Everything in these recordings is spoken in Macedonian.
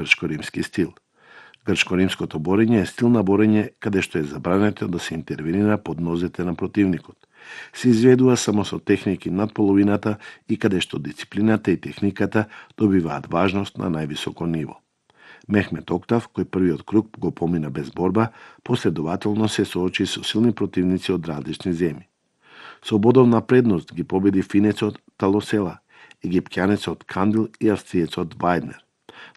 грчко-римски стил. Грчко-римското борење е стил на борење каде што е забрането да се интервенира под нозете на противникот. Се изведува само со техники над половината и каде што дисциплината и техниката добиваат важност на највисоко ниво. Мехмет Октав, кој првиот круг го помина без борба, последователно се соочи со силни противници од различни земји. Со бодовна предност ги победи финецот Талосела, египтјанецот Кандил и австриецот Вајднер.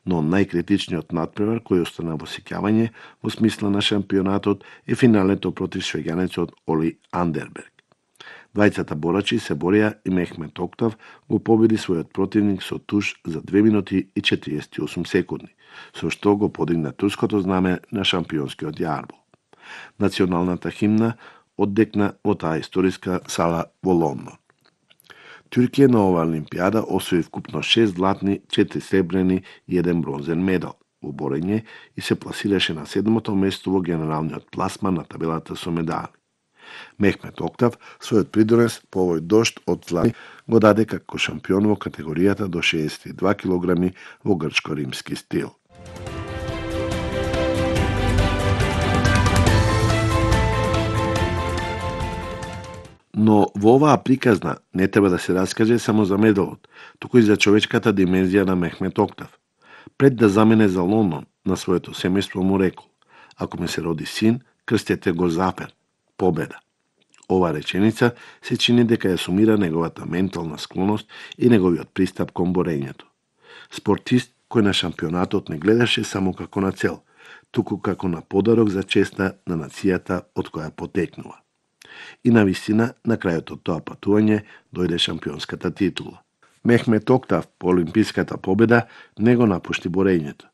Но најкритичниот надпревар кој остана во сеќавање во смисла на шампионатот е финалето против швеѓанецот Оли Андерберг. Двајцата борачи се борија и Мехмет Октав го победи својот противник со туш за 2 минути и 48 секунди, со што го подигна турското знаме на шампионскиот јарбол. Националната химна оддекна во таа историска сала во Лондон. Туркија на оваа олимпијада освои вкупно 6 златни, 4 сребрени и 1 бронзен медал во борење и се пласираше на 7-то место во генералниот пласман на табелата со медали. Мехмет Октав својот придонес по овој дожд од злати го даде како шампион во категоријата до 62 килограми во грчко-римски стил. Но во оваа приказна не треба да се раскаже само за медалот, туку и за човечката димензија на Мехмет Октав. Пред да замине за Лондон, на своето семејство му рекол: "Ако ми се роди син, крстете го Зафер, победа." Ова реченица се чини дека ја сумира неговата ментална склоност и неговиот пристап кон борењето. Спортист кој на шампионатот не гледаше само како на цел, туку како на подарок за честа на нацијата од која потекнува. И навистина, на крајот од тоа патување дојде шампионската титула. Мехмет Октав по олимписката победа не го напушти борењето.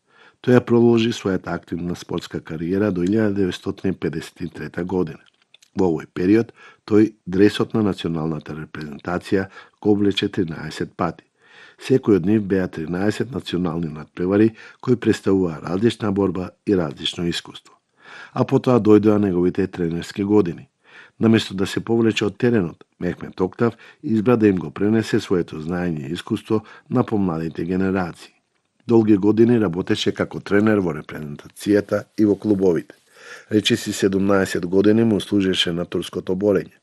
Тој ја продолжи својата активна спортска кариера до 1953 година. Во овој период, тој дресот на националната репрезентација го облече 13 пати. Секој од нив беа 13 национални надпревари кои представуваа различна борба и различно искуство. А потоа дојдоа неговите тренерски години. Наместо да се повлече од теренот, Мехмет Октав избра да им го пренесе своето знаење и искуство на помладите генерации. Долги години работеше како тренер во репрезентацијата и во клубовите. Речиси 17 години му служеше на турското борење.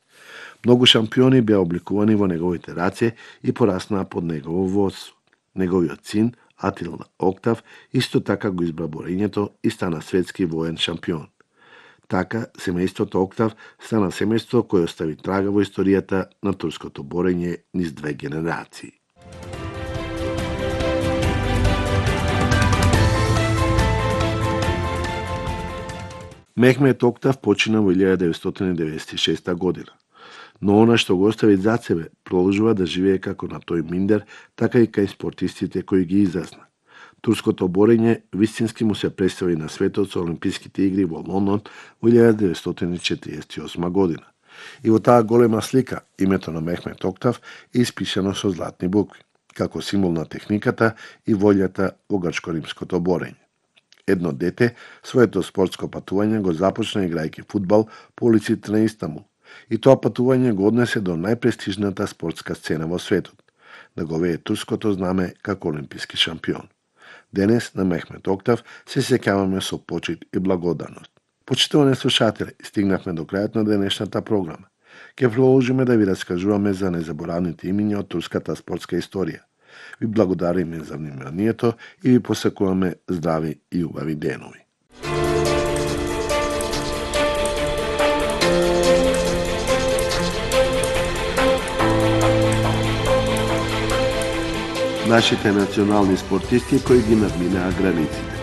Многу шампиони беа обликувани во неговите раце и пораснаа под негово водство. Неговиот син, Атил Октав, исто така го избра борењето и стана светски воен шампион. Така, семејството Октав стана семејство кој остави трага во историјата на турското борење низ 2 генерации. Мехмет Октав почина во 1996 година, но она што го остави зад себе продолжува да живее како на тој миндер, така и кај спортистите кои ги изазна. Турското борење вистински му се представи на светот со Олимписките игри во Лондон во 1948 година. И во таа голема слика името на Мехмет Октав е испишано со златни букви, како символ на техниката и волјата во грчко-римското борење. Едно дете своето спортско патување го започна играјќи фудбал по улиците на Истанбул, и тоа патување го однесе до најпрестижната спортска сцена во светот, да го вее турското знаме како олимписки шампион. Денес на Мехмет Октав се сеќаваме со почит и благодарност. Почитувани слушатели, стигнавме до крајот на денешната програма. Ке продолжиме да ви раскажуваме за незаборавните имиња од турската спортска историја. Ви благодариме за вниманието и ви посакуваме здрави и убави денови. Нашите национални спортисти кои ги надминаа границите.